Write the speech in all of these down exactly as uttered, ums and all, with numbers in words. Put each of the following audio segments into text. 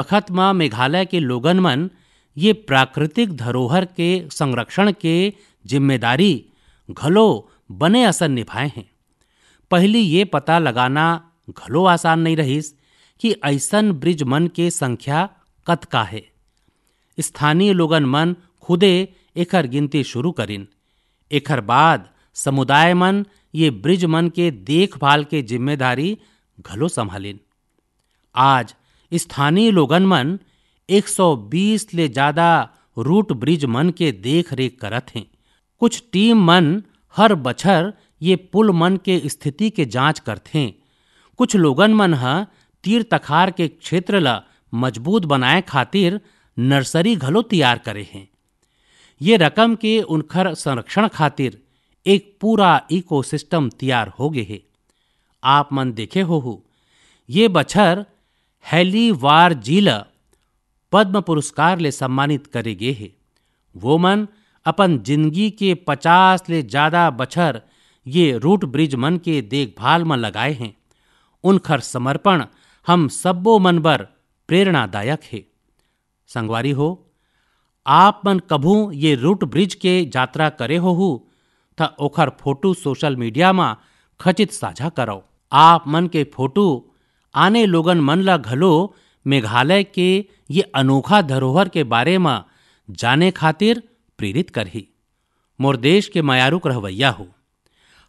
बखत म मेघालय के लोगन मन ये प्राकृतिक धरोहर के संरक्षण के जिम्मेदारी घलो बने असन निभाए हें। पहिली ये पता लगाना घलो आसान नइ रहिस कि अइसन ब्रिज मन के संख्या कतका हे। स्थानीय लोगन मन खुदे एखर गिनती शुरू करिन। एखर बाद समुदाय मन ये ब्रिज मन के देखभाल के जिम्मेदारी घलो संभालिन। आज स्थानीय लोगन मन एक सौ बीस ले ज्यादा रूट ब्रिज मन के देख रेख करत हें। कुछ टीम मन हर बछर ये पुल मन के स्थिति के जांच करथें। कुछ लोगन मन ह तीर तखार के क्षेत्र ल मजबूत बनाए खातिर नर्सरी घलो तैयार करे हें। ये रकम के उनखर संरक्षण खातिर एक पूरा इकोसिस्टम तैयार हो गे हे। आप मन देखे होहू, ये बछर हेली वार जी ल पद्म पुरस्कार ले सम्मानित करे गे हे। वो मन अपन जिंदगी के पचास ले ज्यादा बछर ये रूट ब्रिज मन के देखभाल म लगाए हें। उनखर समर्पण हम सब्बो मन बर प्रेरणादायक हे। संगवारी हो, आप मन कभू ये रूट ब्रिज के यात्रा करे होहू, त ओखर फोटो सोशल मीडिया म खचित साझा करव। आप मन के फोटो आने लोगन मन ल घलो मेघालय के ये अनोखा धरोहर के बारे म जाने खातिर प्रेरित करही। मोर देश के मयारुक रहवैया हो,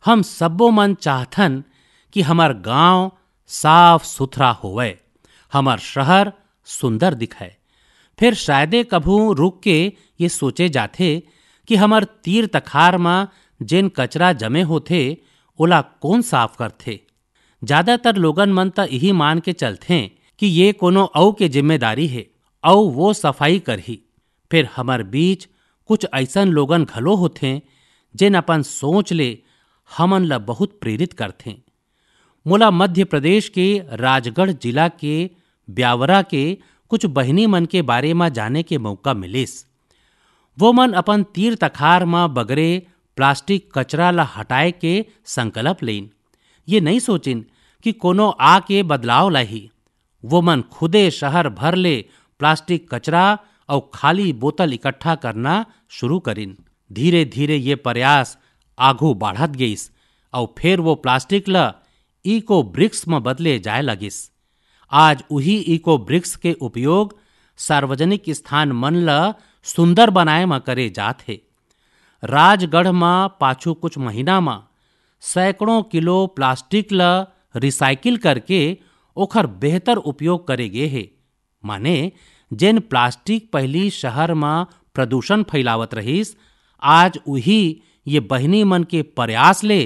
हम सब्बो मन चाहथन कि हमर गांव साफ सुथरा होवय, हमर शहर सुंदर दिखय। फिर शायदे कभू रुक के ये सोचे जाथे कि हमर तीर तखार म जेन कचरा जमे होथे, ओला कोन साफ करथे? ज्यादातर लोगन मन त इही मान के चलथें कि ये कोनो अउ के जिम्मेदारी हे, अउ वो सफाई करही। फिर हमर बीच कुछ अइसन लोगन घलो होथें, जेन अपन सोच ले हमन ल बहुत प्रेरित करथें। मोला मध्य प्रदेश के राजगढ़ जिला के ब्यावरा के कुछ बहिनी मन के बारे म जाने के मौका मिलिस। वो मन अपन तीर तखार म बगरे प्लास्टिक कचरा ल हटाए के संकल्प लेइन। ये नइ सोचिन कि कोनो आके बदलाव लाही। वो मन खुदे शहर भर ले प्लास्टिक कचरा अउ खाली बोतल इकट्ठा करना शुरू करिन। धीरे-धीरे ये प्रयास आघू बाढ़त गइस अउ फेर वो प्लास्टिक ल इको ब्रिक्स म बदले जाय लगिस। आज उही इको ब्रिक्स के उपयोग सार्वजनिक स्थान मन ल सुंदर बनाए म करे जात हे। राजगढ़ म पाछू कुछ महीना म सैकड़ों किलो प्लास्टिक ल रिसाइकिल करके ओखर बेहतर उपयोग करे गे हे। माने, जेन प्लास्टिक पहिली शहर म प्रदूषण फैलावत रहिस, आज उही ये बहिनी मन के प्रयास ले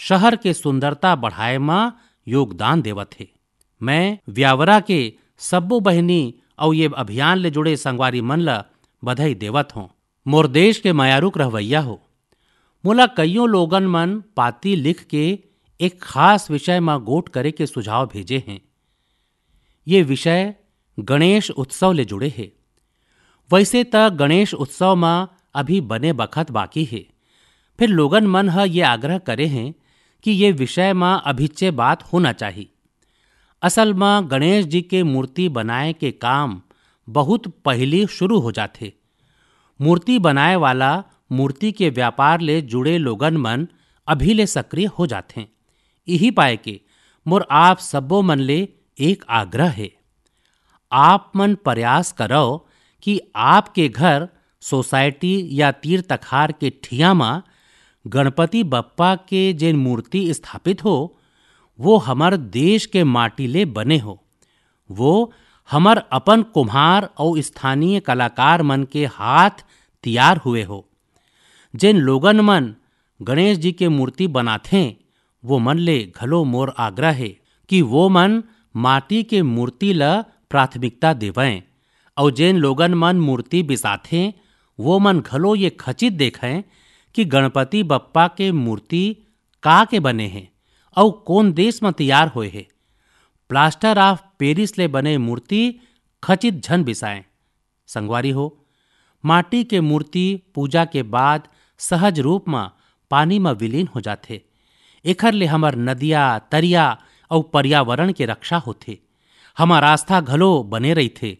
शहर के सुंदरता बढ़ाए म योगदान देवत हे। मैं व्यावरा के सब्बो बहिनी अउ ये अभियान ले जुड़े संगवारी मन ल बधाई देवत हों। मोर देश के मयारुक रहवैया हो, मोला कइयों लोगन मन पाती लिख के एक खास विषय म गोठ करे के सुझाव भेजे हें। ये विषय गणेश उत्सव ले जुड़े हे। वैसे त गणेश उत्सव म अभी बने बखत बाकी हे, फिर लोगन मन ह ये आग्रह करे हें कि ये विषय म अभिच्चे बात होना चाही। असल म गणेश जी के मूर्ति बनाए के काम बहुत पहिली शुरू हो जाथे। मूर्ति बनाए वाला मूर्ति के व्यापार ले जुड़े लोगन मन अभी ले सक्रिय हो जाथें। इही पाए के मोर आप सब्बो मन ले एक आग्रह हे, आप मन प्रयास करव कि आपके घर, सोसाइटी या तीर तखार के ठिया म गणपति बप्पा के जेन मूर्ति स्थापित हो, वो हमर देश के माटी ले बने हो, वो हमर अपन कुम्हार अउ स्थानीय कलाकार मन के हाथ तियार हुए हो। जेन लोगन मन गणेश जी के मूर्ति बनाथें, वो मन ले घलो मोर आग्रह हे कि वो मन माटी के मूर्ति ल प्राथमिकता देवंय, अउ जेन लोगन मन मूर्ति बिसाथें, वो मन घलो ये खचित देखंय कि गणपति बप्पा के मूर्ति का के बने हे अउ कोन देश म तैयार होए हे। प्लास्टर ऑफ पेरिस ले बने मूर्ति खचित झन बिसाएं। संगवारी हो, माटी के मूर्ति पूजा के बाद सहज रूप म पानी म विलीन हो जाथे। एखर ले हमर नदिया, तरिया अउ पर्यावरण के रक्षा होथे। हमर आस्था घलो बने रहिथे